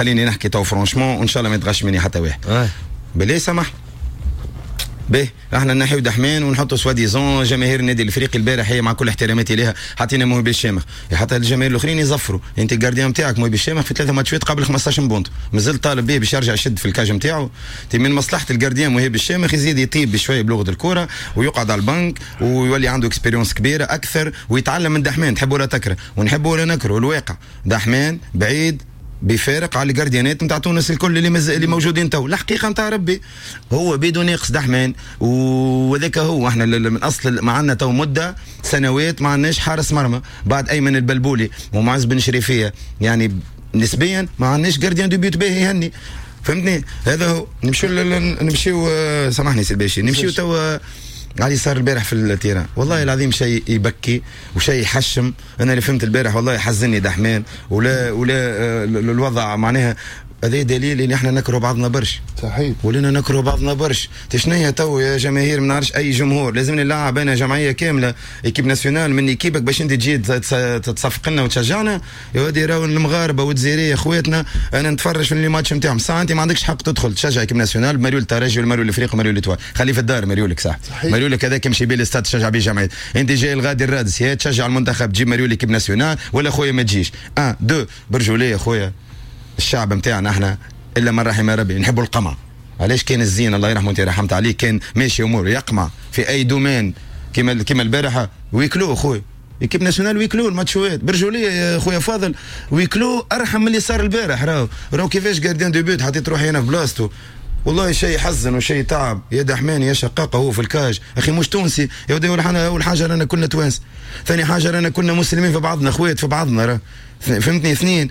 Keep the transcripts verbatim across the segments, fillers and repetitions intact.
خليني نحكي تو franchement، وان شاء الله ما يتغش مني حتى واحد. بالله سمح به، احنا نحيو دحمان ونحطوا soi-disant جماهير النادي الافريقي البارح هي مع كل احتراماتي لها حطينا مهيب الشامخ، حتى الجماهير الاخرين يزفروا. انت ال gardien نتاعك مهيب الشامخ في ثلاثة ماتشات قبل خمسطاش but، مازال طالب به باش يرجع يشد في ال cage نتاعو. من مصلحة ال gardien مهيب الشامخ يزيد يطيب بشوية بلغه الكورة ويقعد على البنك ويولي عنده expérience كبيرة اكثر ويتعلم من دحمان. تحب ولا تكره ونحب ولا نكره، الواقع دحمان بعيد بفارق على ال gardienات نتاع تونس الكل اللي مز... اللي موجودين تو. الحقيقة نتاع ربي هو بيدو ناقص دحمان، وذاك هو احنا من اصل ما عندنا تو مده سنوات ما عندناش حارس مرمى بعد ايمن البلبولي ومعز بن شريفيه، يعني نسبيا ما عندناش gardien de but باهي يهني، فهمتني؟ هذا هو. نمشيو نمشيو، سامحني سي الباشي، نمشيو تو علي صار البارح في ال terrain. والله العظيم شيء يبكي وشيء يحشم. انا اللي فهمت البارح والله حزني دحمان ولا ولا آه، الوضع معناها هذا دليل ان احنا نكره بعضنا برشا. صحيح. ولينا نكره بعضنا برشا. شنو تو يا جماهير؟ ما نعرفش اي جمهور لازم نلعب انا جمعية كاملة équipe nationale من équipe ك باش انت تجي تصفق لنا وتشجعنا. يا ودي راهو المغاربة والجزائريه اخواتنا، انا نتفرج في les matchs نتاعهم. ساعة انت ما عندكش حق تدخل تشجع équipe nationale بمريول الترجي والمريول الافريقي ومريول l'Étoile. خليه في الدار مريولك صح، مريولك هذاك يمشي بيه الاستاد تشجع بيه جمعية. انت جاي الغادي الرادس يا تشجع المنتخب تجيب مريول équipe nationale ولا خويا ما تجيش. un deux برجولية خويا، الشعب نتاعنا احنا الا من رحم ربي نحبوا القمع. علاش كان الزين الله يرحمه، انت رحمت عليه، كان ماشي امور يقمع في اي domaine كيما كيما البارحة huis clos خويا، équipe nationale huis clos الماتشوات. برجولية يا خويا فاضل، huis clos ارحم من اللي صار البارح. راهو راهو كيفاش gardien de but حطيت روحي انا في بلاصتو، والله شيء يحزن وشيء تعب. يا دحمان يا شقاقه هو في ال cage اخي مش تونسي يا ودي. اول حاجة رانا كنا توانس، ثاني حاجة رانا كنا مسلمين في بعضنا، اخوات في بعضنا راه، فهمتني؟ اثنين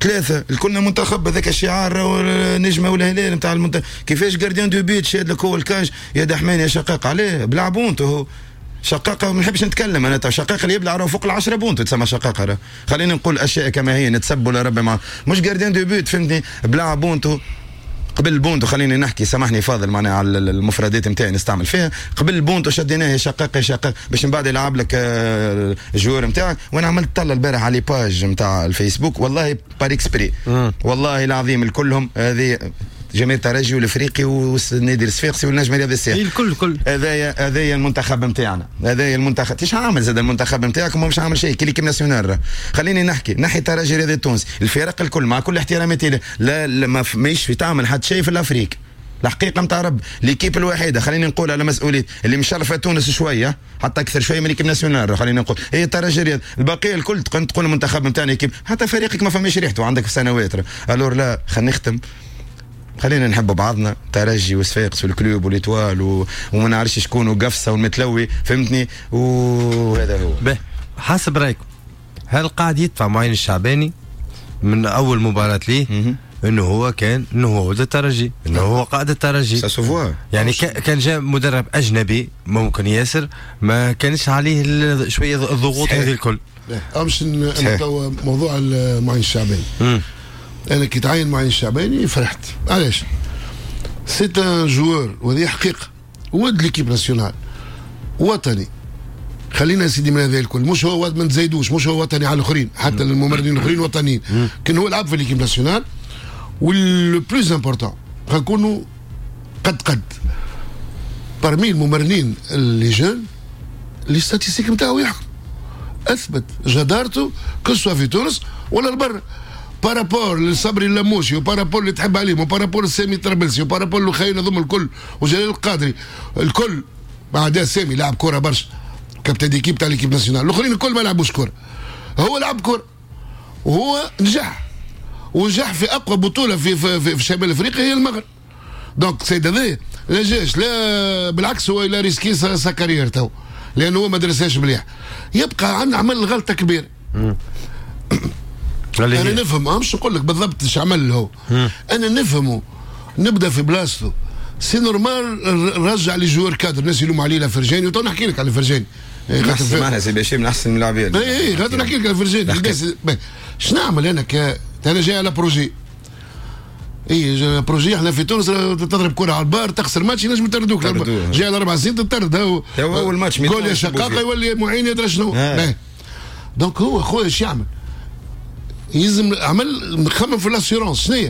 ثلاثة الكلنا منتخب، هذاك الشعار النجمة والهلال نتاع المنتخب. كيفاش gardien de but شاد لك هو ال cage يا دحمان يا شقاق؟ عليه بلع بونتو هو شقاقه، ما نحبش نتكلم انا. شقاقه اللي يبلع فوق العشرة بونتو تسمى شقاقه. خلينا نقول اشياء كما هي، نتسبوا لربي مع مش gardien de but، فهمتني؟ بلع بونتو. قبل البونتو خليني نحكي، سامحني فاضل معناها على المفردات نتاعي نستعمل فيها. قبل البونتو شديناه يا شقاق يا شقاق باش من بعد يلعب لك آه، ال joueur نتاعك. وانا عملت طلة البارح على les pages نتاع الفيسبوك، والله par exprès، والله العظيم الكلهم هذه جماهير الترجي والافريقي والنادي الصفاقسي والنجم الرياضي الساحلي. الكل الكل. هذايا هذايا المنتخب نتاعنا، هذايا المنتخب. ايش عامل زاد المنتخب نتاعكم؟ مش عامل شيء كي l'équipe nationale. خليني نحكي نحي الترجي الرياضي التونسي، الفرق الكل مع كل احتراماتي لا, لا ما ماهيش في تعمل حتى شيء في l'Afrique. الحقيقة نتاع رب l'équipe الوحيده، خليني نقول على مسؤولية، اللي مشرفة تونس شوية حتى اكثر شوية من l'équipe nationale، خلينا نقول هي الترجي الرياضي. البقية الكل تقول المنتخب نتاعنا équipe، حتى فريقك ما فماش ريحته عندك في سنوات. alors لا خلينا نختم، خلينا نحب بعضنا، ترجي وصفاقس وال Club و l'Étoile و... وما نعرفش شكون وقفصه والمتلوي، فهمتني؟ وهذا هو. به، حسب رايكم هل قاعد يدفع معين الشعباني من اول مباراة ليه انه هو كان انه هو ولد الترجي، انه هو قائد الترجي؟ ça se voit. يعني كان جاء مدرب اجنبي ممكن ياسر ما كانش عليه شوية الضغوط هذه الكل. مش موضوع معين الشعباني، انا كي تعين معين الشعباني فرحت. علاش؟ c'est un joueur، وهذه حقيقه، ولد l'équipe nationale، وطني. خلينا سيدي من هذا الكل، مش هو ما نزايدوش، مش هو وطني على الاخرين، حتى الممرنين الاخرين وطنيين، كان هو لعب في l'équipe nationale. و le plus important نكونوا قد قد parmi الممرنين les jeunes، les statistiques نتاعو يحكم، اثبت جدارته que ce soit في تونس ولا لبرا par rapport لصبري اللموشي و par rapport اللي تحب عليهم و par rapport لسامي طرابلسي و par rapport لخينا هذوما الكل وجلال القادري الكل. بعد سامي لعب كورة برشا، capitaine d'équipe تاع l'équipe nationale، الاخرين الكل ما لعبوش كوره، هو لعب كورة وهو نجح ونجح في اقوى بطوله في في, في, في شمال افريقيا هي المغرب. donc سيد هذا لا جاش، لا بالعكس هو il a risqué sa carrière تو لانه هو ما درسهاش مليح. يبقى عندنا عمل غلطه كبيره. انا نفهم، مش نقول لك بالضبط ايش عمل هو، انا نفهمه، نبدا في بلاصتو c'est normal رجع les joueurs cadres. الناس يلوموا عليه فرجاني، وتو نحكي لك على فرجاني. معناها سي بشير من احسن اللاعبين. اي اي خاطر نحكي لك على فرجاني. اش نعمل انا ك انا جاي على projet، اي projet؟ احنا في تونس تضرب كره على ال barre تخسر ماتش ينجم يطردوك. جاي على اربع سنين تطرد. هو اول ماتش. قول يا شقاقه يولي معين يدري شنو. donc هو خويا ايش يعمل؟ يلزم عمل خمم في l'assurance. شنو هي؟